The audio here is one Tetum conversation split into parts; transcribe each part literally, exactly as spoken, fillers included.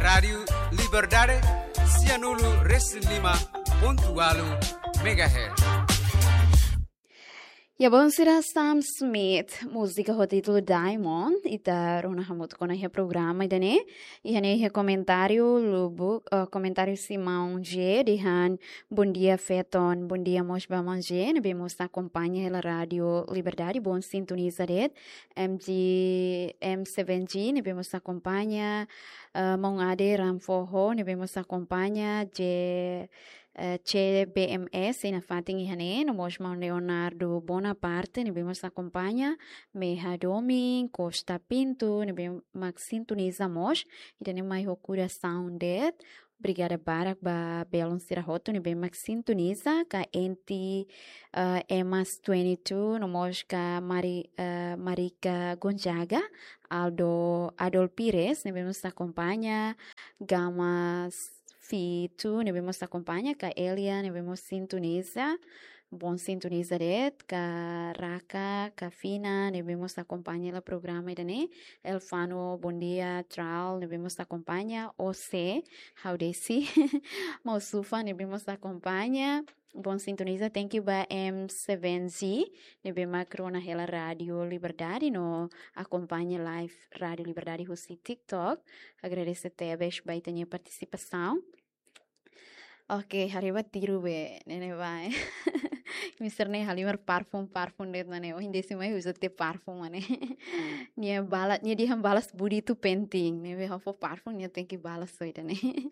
Rádiu Liberdade, sianulu resin lima pontu ualu megahertz. Ya, bon, sira, Sam Smith, múzika ho títulu Diamond, ita rona hamutuk ona iha programa ida-ne'e. Iha ne'e iha komentáriu lubuk, eh, komentáriu husi maun J dehan, "Bom dia, feton." Bom dia mós ba maun J, ne'ebé mós akompaña hela Rádiu Liberdade, bon sintoniza de'it. M G, M seven G, ne'ebé mós akompaña, eh, maun Ade Ramfoho, ne'ebé mós akompaña, J, eh, C B M S, iha fatin iha ne'e, no mós maun Leonardo Bonaparte, ne'ebé mós akompaña, Meha Domin, Costa Pinto, ne'ebé mak sintoniza mós, ida-ne'e mai ho korasaun de'it. Obrigada barak ba belun sira hotu ne'ebé mak sintoniza, ka Enti, eh, Emas twenty two, no mós ka Mari-, eh, Marika Gonzaga, Aldo, Adol Pires, ne'ebé mós akompaña, Gamas Fitu, ne'ebé mós akompaña, ka Elia, ne'ebé mós sintoniza, bon sintoniza de'it, ka Raka, ka Fina, ne'ebé mós akompaña hela programa ida-ne'e, Elfano, bom dia, Tral, ne'ebé mós akompaña, O C, ha'u desi, maun Sufa, ne'ebé mós akompaña, bon sintoniza, thank you ba M seven Z, ne'ebé mak rona hela Rádiu Liberdade, no akompaña live Rádiu Liberdade husi TikTok, agradese tebes ba ita-nia partisipasaun. Oke, haree ba tiru be, ne'e ne'ebá, eh. Mister ne'e halimar parfum, parfum de'it mak ne'e. Ohin desi mai uza tiha parfum mak ne'e. Nia bala-, nia dehan balas budi itu penting. Ne'ebé ha'u fó parfum, nia tenke balas so ida-ne'e.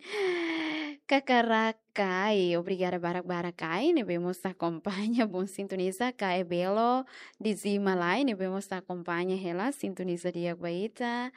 Kakarakai, obrigada barak-barak ai, ne'ebé mós akompaña, bon sintoniza, Kae Belo, Dizima Lai, ne'ebé mós akompaña hela, sintoniza di'ak ba ita.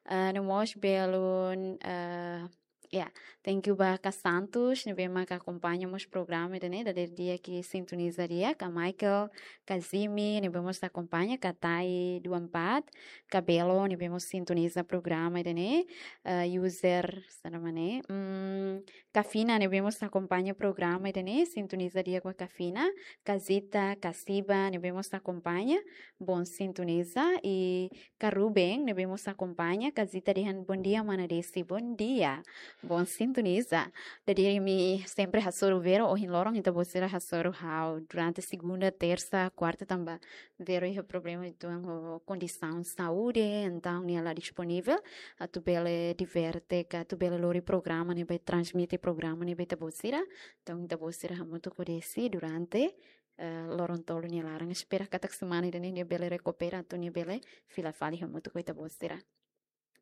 Ah, no mós belun, ah, Ya, thank you ba Ka Santos, ne'ebé mak akompaña mós programa ida-ne'e, dadeer di'ak sintoniza di'ak, Ka Michael, Ka Zimi, ne'ebé mós akompaña, Ka Tai dua empat, Ka Belo, ne'ebé mós sintoniza programa ida-ne'e, eh, user, sá nome ne'e, hmm, Ka Fina, ne'ebé mós akompaña programa ida-ne'e, sintoniza di'ak ba Ka Fina, Ka Zita, Ka Siba, ne'ebé mós akompaña, bon sintoniza, i Ka Ruben, ne'ebé mós akompaña, Ka Zita dehan, "Bom dia, mana Desi, bom dia." Bon sintoniza. Dadeer imi sempre hasoru Vero, ohin loron ita-boot sira hasoru ha'u. Durante segunda, tersa, kuarta tanba Vero iha problema uitoan ho kondisaun saúde, entaun nia la disponivel atu bele diverte, ka atu bele lori programa ne'ebé transmite programa ne'ebé ita-boot sira. Entaun ita-boot sira hamutuk ho Desi durante eh, loron tolu nia laran. Espera katak semana ida-ne'e nia bele rekupera atu nia bele fila fali hamutuk ho ita-boot sira.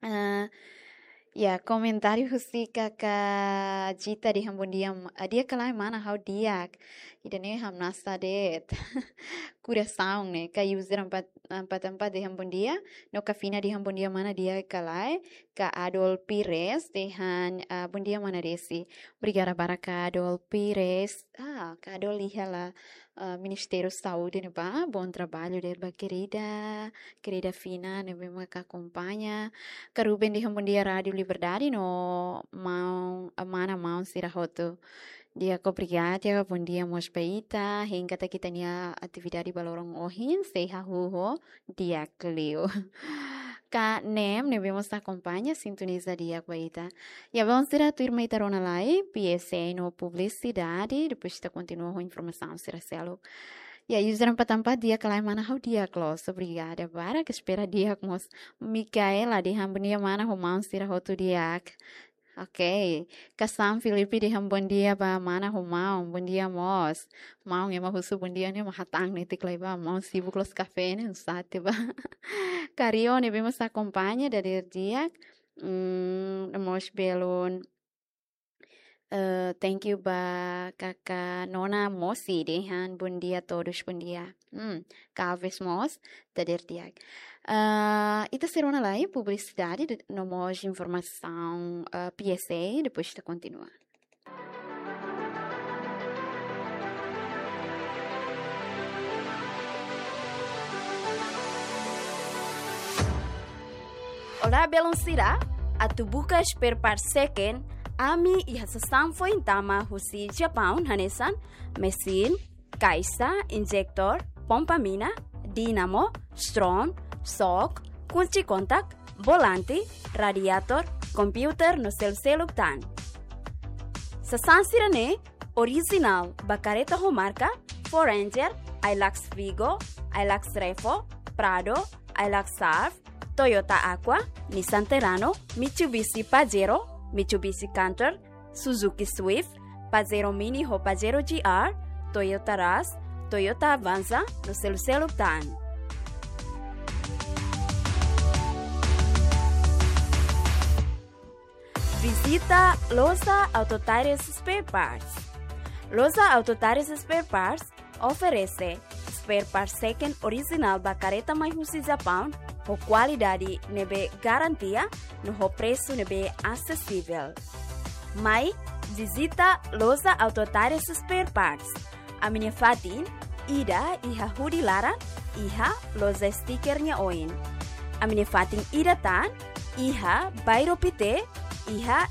Eh, ya, komentáriu husi Kaka Jita dehan bom dia, ma-, ah, di'ak ka lae mana, ha'u di'ak. Ida-ne'e hamnasa de'it. Korasaun ne'e, Ka Yuzir empat, empat empat dehan bom dia. No Ka Fina dehan bom dia mana, di'ak ka lae. Ka Adol Pires dehan, ah, bom dia mana Desi. Obrigada barak Ka Adol Pires. Ah, Ka Adol iha la, ah, Ministériu Saúde ne'ebá. Bom trabalho de'it ba kerida, kerida Fina ne'ebé mak akompaña. Ka Ruben dehan bom dia Rádiu Liberdade no maun, ah, mana maun sira hotu. Di'ak, obrigada, bom dia mós ba ita. Hein katak ita-nia atividade ba loron ohin sei hahú ho di'ak liu. Ka Nem ne'ebé mós akompaña, sintoniza di'ak ba ita. Ya, belun sira, tuirmai ita rona lai, P S A no publisidade, depois ita kontinua ho informasaun sira seluk. Ya, user empat empat, di'ak ka lae mana, ha'u di'ak loos, obrigada barak, espera di'ak mós. Mikaela dehan bom dia mana ho maun sira hotu di'ak. Oke, Ka Sam Filipe dehan bom dia ba mana ho maun, bom dia mós. Maun ema husu bom dia ne'e mak hatán netik lai ba, maun sibuk loos kafé ne'e, sate ba. Ka Rio ne'ebé mós akompaña dadeer di'ak. Hmm, mós belun. Eh, thank you ba Kaka Nona Mosi dehan bom dia todos, bom dia. Hmm, Ka Alves mós dadeer di'ak. Eh, ita sei rona lai publisidade de-, no mós informasaun, eh, P S A, depois ita kontinua. Olá, belun sira, atu buka spare part second, ami iha sasán foin tama husi Japaun hanesan, mesin, kaixa, injektór, pompa mina, dínamo, stron, xok, kunci kontak, volante, radiator, komputadór no seluk-seluk tan. Sasán sira-ne'e orijinál ba kareta ho marka Ford Ranger, Hilux Vigo, Hilux Revo, Prado, Hilux Surf, Toyota Aqua, Nissan Terrano, Mitsubishi Pajero, Mitsubishi Canter, Suzuki Swift, Pajero Mini ho Pajero G R, Toyota Rush, Toyota Avanza no seluk-seluk tan. Vizita Loja Auto Tires Spare Parts. Loja Auto Tires Spare Parts oferese spare parts second orijinál ba kareta mai husi Japaun, ho kualidade ne'ebé garantia no ho presu ne'ebé asesivel. Mai vizita Loja Auto Tires Spare Parts. Ami-nia fatin ida iha hudi laran, iha loja sticker nia oin. Ami-nia fatin ida tan iha Bairro Pité, iha